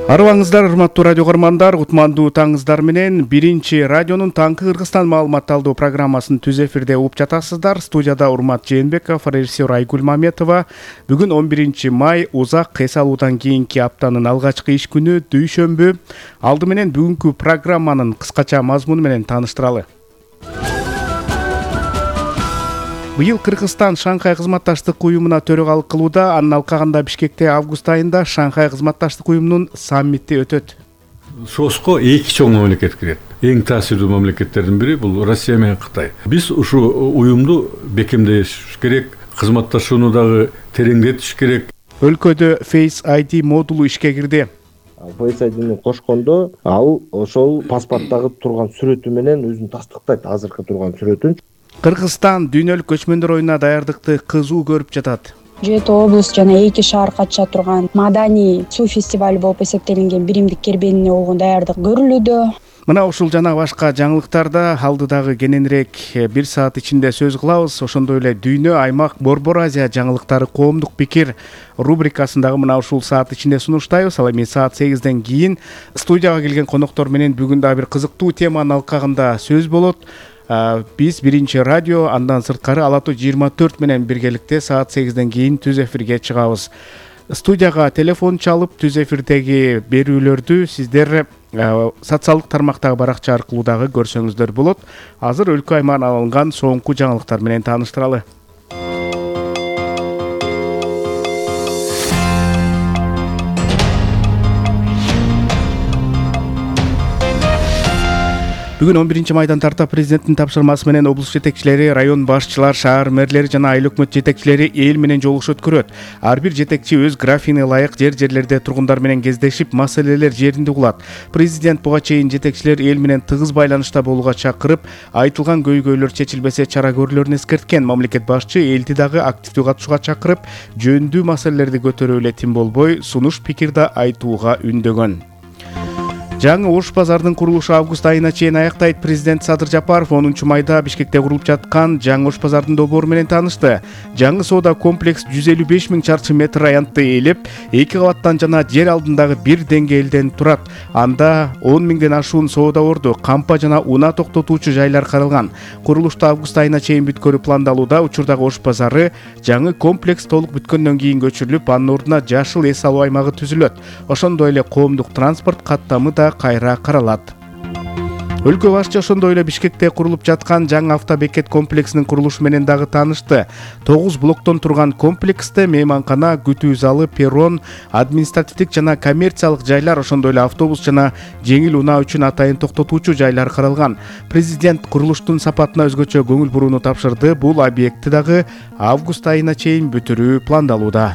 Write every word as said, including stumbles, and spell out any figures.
Арыбаңыздар, урматтуу радио көрөрмандар, кутмандуу таңыңыздар менен биринчи радионун таңкы Кыргызстан маалыматталдуу программасын түз эфирде угуп жатасыздар. Студияда Урмат Жээнбеков, режиссер Айгүл Маметова. Бүгүн он биринчи май, узак эс алуудан кийинки аптанын алгачкы иш күнү, дүйшөмбү. Алды менен бүгүнкү программанын кыскача мазмуну менен тааныштыралы. Быйыл Кыргызстан Шанхай кызматташтык уюмуна төрөгалык кылууда. Анын алкагында Бишкекте август айында Шанхай кызматташтык уюмунун саммити өтөт. Сооско эки чоң мамлекет кирет. Эң таасирдүү мамлекеттердин бири бул Россия менен Кытай. Биз ушу уюмду бекемдеш керек, кызматташууну дагы тереңдетиш керек. Өлкөдө Face ай ди модулу ишке кирди. Face ай дини кошкондо ал ошол паспорттагы турган сүрөтү менен өзүн тастыктайт, азыркы турган сүрөтүн. Кыргызстан дүйнөлүк көчмөндөр оюнуна даярдыкты кызуу көрүп жатат. Жети облус жана эки шаар катыша турган маданий суу фестиваль болуп эсептелинген биримдик кербенине болгон даярдык көрүлүүдө. Мына ушул жана башка жаңылыктарда алдыдагы кененирээк бир саат ичинде сөз кылабыз. Ошондой эле дүйнө, аймак, Борбор Азия жаңылыктары, коомдук пикир рубрикасындагы мына ушул саат ичинде сунуштайбыз. Ал эми саат сегизден кийин студияга келген коноктор менен бүгүн дагы бир кызыктуу теманын алкагында сөз болот. Биз биринчи радио, андан сырткары Ала тоо жыйырма төрт менен биргеликте саат сегизден кийин түз эфирге чыгабыз. Студияга телефон чалып, түз эфирдеги берүүлөрдү сиздер социалдык тармактагы баракча аркылуу дагы көрсөңүздөр болот. Азыр өлкө аймагынан алынган соңку жаңылыктар менен тааныштыралы. Бүгүн он биринчи майдан тарта президенттин тапшырмасы менен облус жетекчилери, район башчылар, шаар мэрлери жана айыл өкмөт жетекчилери эл менен жолугуш өткөрөт. Ар бир жетекчи өз графине ылайык жер-жерлерде тургундар менен кездешип, маселелер жеринде угулат. Президент буга чейин жетекчилер эл менен тыгыз байланышта болууга чакырып, айтылган көйгөйлөр чечилбесе чара көрүлөрүн эскерткен. Мамлекет башчы элди дагы активдүү катышууга чакырып, жөнүндүү маселелерди көтөрүү эле тим болбой, сунуш пикир да айтууга үндөгөн. Жаңы Ош базардын курулушу август айына чейин аяктайт. Президент Садыр Жапаров онунчу майда Бишкекте курулуп жаткан жаңы Ош базардын долбоору менен таанышты. Жаңы соода комплекс жүз элүү беш миң чарчы метр аянтты ээлеп, эки кабаттан жана жер алдындагы бир деңгээлден турат. Анда он миңден ашуун соода орду, кампа жана унаа токтотуучу жайлар каралган. Курулушту август айына чейин бүткөрүү пландалууда. Учурдагы Ош базары жаңы комплекс толук бүткөндөн кийин көчүрүлүп, анын ордуна жашыл эс алуу аймагы түзүлөт. Ошондой эле коомдук транспорт каттамы да кайра каралат. Өлкө башчы ошондой эле Бишкекте курулуп жаткан жаңы автобекет комплексинин курулушу менен дагы таанышты. тогуз блоктон турган комплексте мейманкана, күтүү залы, перрон, административдик жана коммерциялык жайлар, ошондой эле автобус жана жеңил унаа үчүн атайын токтотуучу жайлар каралган. Президент курулуштун сапатына өзгөчө көңүл бурууну тапшырды. Бул объектти дагы август айына чейин бүтүрүү пландалууда.